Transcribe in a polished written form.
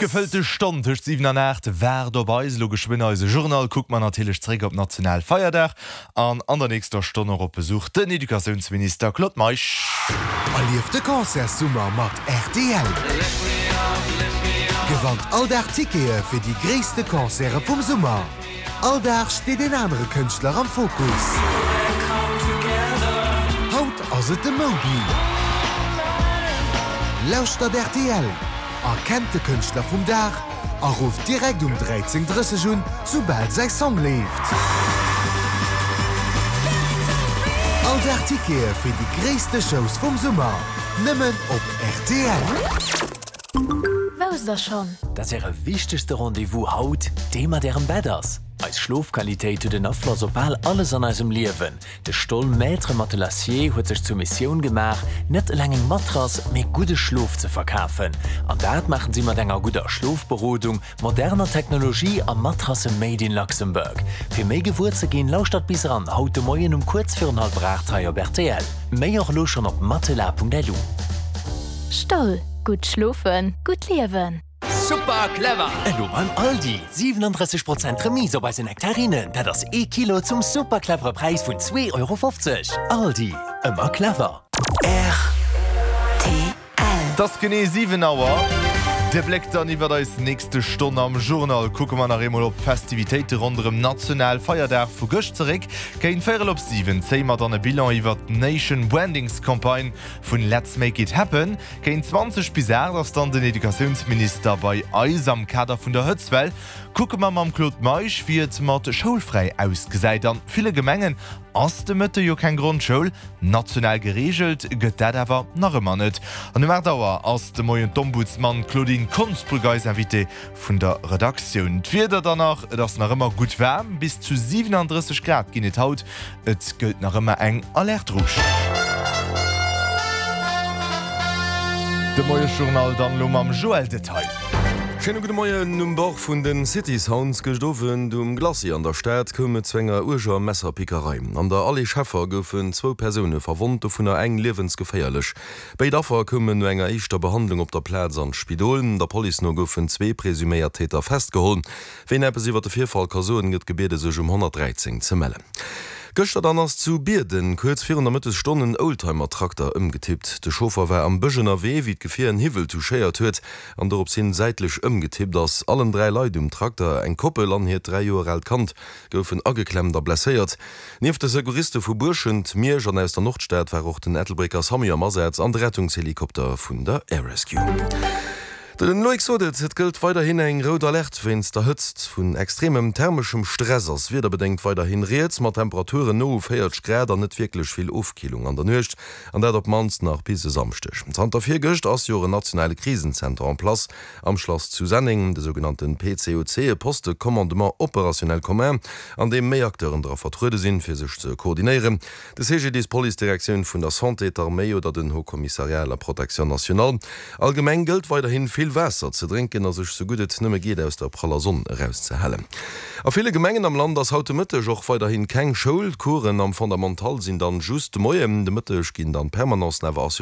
Gefëllte Stonn tëscht 7 an 8 waart op eis. Elo geschwënn eise Journal, kucke mer natierlech zeréck op national Feierdag an an der nächster Stonn och op Besuch den Educatiounsminister Claude Meisch. Erlieft de Concertssummer mat rtl! Gewannt all Dag Tickete fir déi gréisste Concerte vum Summer. All Dag steet een anere Kënschtler am Fokus. Haut ass et de Moby. Lauschtert rtl! Erkennt de Kënschtler vum Dag a rufft direkt um 13:30 un, soubal säi Song leeft. All Dag Tickete fir déi gréisste Shows vum Summer, nëmmen op rtl. Wousst der schonn? Dass Äre wichtegste Rendez-vous haut dee mat Ärem Bett ass? Eis Schlofqualitéit huet en Afloss op bal alles an eisem Liewen. De Stoll Maître Matelassier huet sech zur Missioun gemaach, net eleng eng Matrass, mee gudde Schlof ze verkafen. An dat maachen si mat enger gudder Schlofberodung, moderner Technologie a Matrasse made in Luxembourg. Fir méi gewuer ze ginn, lauschtert bis eran haut de Moien um kuerz virun hallwer 8 hei op rtl. Méi och elo schonn op matelas.lu. Stoll, gutt schlofen, gutt liewen. Super clever! Elo beim Aldi! 37 Prozent Remise op eise Nektarinen, dat ass ee Kilo zum super clevere Präis vun 2,50 Euro. Aldi, ëmmer clever! Rtl. Et ass genee 7 Auer. De Bléck dann iwwert eis nächste Stonn am Journal. Kucke mer nach eemol op d'Festivitéite ronderëm National Feierdag vu gëscht zeréck. Géint véierel op 7 zéie mer dann e Bilan iwwert d'Nation Brandings Campagne vun Let's Make It Happen. Géint 20 bis 8 ass dann den Educatiounsminister bei eis. Am Kader vun der Hëtztwell kucke mer mam Claude Meisch, wéi et mat Schoulfräi ausgesäit. An ville Gemengen ass de Mëtte jo keng Grondschoul. National gereegelt gëtt dat awer nach ëmmer net. An um 8 Auer ass de Moien d'Ombudsman Claudine Konsbrück eis Invitée. Vun der Redaktioun. D'Wieder dann nach, Et ass nach ëmmer gutt waarm, bis zu 37 Grad ginn et haut. Et gëllt nach ëmmer eng Alerte rouge. De Moiesjournal dann elo mam Joël Detaille. Schéine gudde Moien. Um Bord vun den City Sounds gëscht Owend um Glacis an der Stad koum et zu enger uerger Messerpickerei. An der Allée Scheffer goufen zwou Persoune verwonnt, dovunner eng liewensgeféierlech. Béid Affer koumen no enger éischter Behandlung op der Plaz an d'Spidol. Der Police no goufen zwee presuméiert Täter festgeholl. Ween eppes iwwer de Virfall ka soen, gëtt gebiede sech um 113 ze mellen. Gëschter dann ass zu Bierden kuerz virun der Mëttesstonn en Oldtimer-Trakter ëmgetippt. De Chauffer war am Bësch ënnerwee, wéi d'Gefier en Hiwwel touchéiert huet an dorops hin säitlech ëmgetippt ass. Allen 3 Leit um Trakter, eng Koppel an hiert 3 Joer aalt Kand, goufen ageklemmt a blesséiert. Nieft de Secouriste vu Buerschent, Miersch an aus der Nordstad war och den Ettelbrécker Samu am Asaz an de Rettungshelikopter vun der Air Rescue. Den Loïc sot et, et gëllt weiderhin eng rout Alerte wéinst der Hëtzt. Vun extremem thermeschem Stress ass wiederbedéngt weiderhin rieds, mat Temperaturen no u 40 Grad an net wierklech vill Ofkillung an der Nuecht, an dat op d'mannst nach bis e Samschdeg. Zanter virgëscht ass jo och en nationale Krisenzenter en place Am Schlass zu Senneng, de sougenannten PCOC, e Poste de commandement opérationnel commun, an deem méi Acteuren dra vertruede sinn, fir sech ze koordinéieren, de CGDIS, d'Police-Direktioun vun der Santé, d'Arméi oder den Haut Commissariat à la Protection nationale. Allgemeng gëllt weiderhin, vill Waasser ze drénken a sech sou gutt et nëmme geet aus der praller Sonn erauszehalen. A ville Gemengen am Land ass haut de Mëtteg och weiderhin keng Schoul. D'Coursen am Fondamental sinn dann just de Moien. De Mëtteg ginn dann d'Permanencen awer assuréiert.